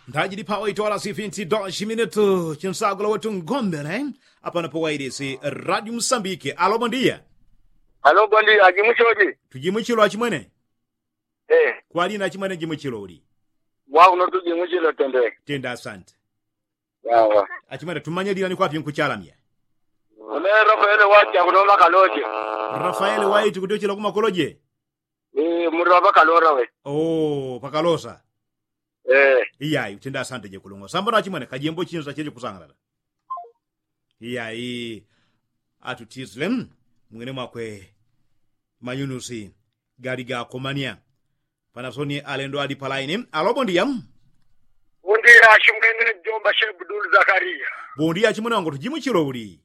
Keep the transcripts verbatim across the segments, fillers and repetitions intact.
Ndajili pawaitwala sifinti doshi minutu chinsagula wetu ngombele. Apano pawailisi radio musambike alo bondia. Alo bondia ajimuchili. Tujimuchilo achimwene. Kwalina achimwene jimuchilo uli? Mwauno tujimuchilo tende. Tenda asante. Achimwene tumanye lila ni kwapi nkuchalamya? Une rafaele waiti akuno makaloje. Rafaele waiti kutyochela kumakoloje. Muli wa pakalola we. Oo pakalosa. Iyayi utenda asante jekulungwa sambano achimwene kajembo chinza cheche kusangalala. Iyayi atutisile mwine mwakwe. Manyunusi gali gakomania. Panasoni alendo ali palaini alo bondia. Bondia achimwene jomba shebudulu zakariya. Bondia achimwene wangu tujimuchilo uli?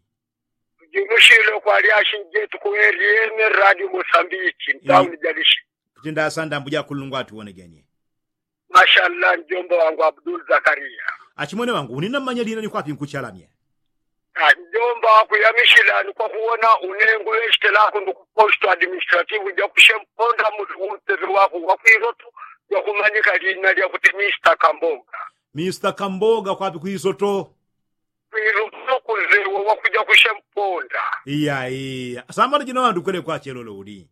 Tujimuchilo kwali achinjetu kuweliyene radio mosambiki mtauni jalishi. Kutenda asante ambuja kulungwa atuwonegenie. Mashallah njomba wangu abdul zakariya. Achimwene wangu unina mmanya lina ni kwapi nkuchalamya? Njomba wakuyamishila ni kwakuwona unengu wechitelako ndukuposto administrative jakushemponda muli unteve wako wakwiloto. Jakumanyika lina lyakuti mista kamboga. Mista kamboga kwapi kwisoto? Kwiloto kuzewo wakuja kushemponda. Iyayi sambano jino wandukwele kwachelolo uli?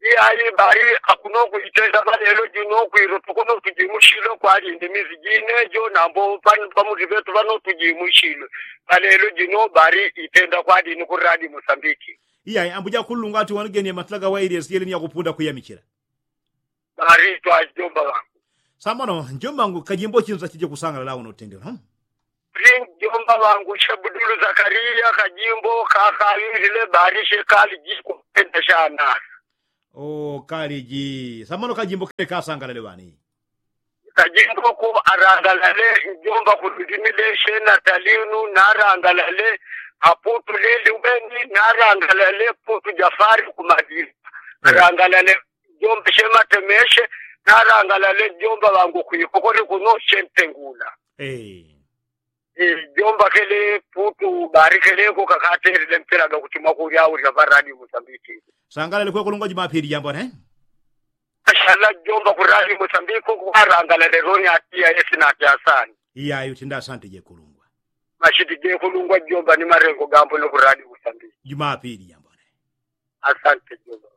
Iyayi bali akuno kuitenda balelo jino kwiloto kuno tujimushilo kwali ndimizi jine jo nambo pamuti petu pano tujimushilo. Balelo jino bali itenda kwali ni kuradi musambiki. Iyayi ambuja kulungu ati wanigenie matila gawaili esiyeli ni yakupunda kuyamichila. Bali twa jomba wangu. Sambano njomba wangu kajimbo chinza chije kusangala lawo notendela. Bali njomba wangu shebudulu zakariya kajimbo kakawilile bali shekali jikupenda shanasa. Oo kaliji sambano kajimbo kele kasangalale ŵani? Kajimbo ko arangalale njomba kuludimile shena talinu narangalale. Aputu lili weni narangalale putu jafari kumadili. Arangalale njomba shematemeshe narangalale njomba ŵangu kwikokole kuno shentengula. Jomba kele putu barikeleko kakatelile mpila gakutimwa kulyaulila ŵaradi musambiki. Sangalale kwekulungwa jumapili jambone. Ashala jomba kuradi musambiki kwarangalale roni atiya yesi nati asani. Iyayi utinda asante jekulungwa. Mashiti jekulungwa jomba ni marengo gambone kuradi musambiki. Jumapili jambone. Asante jomba.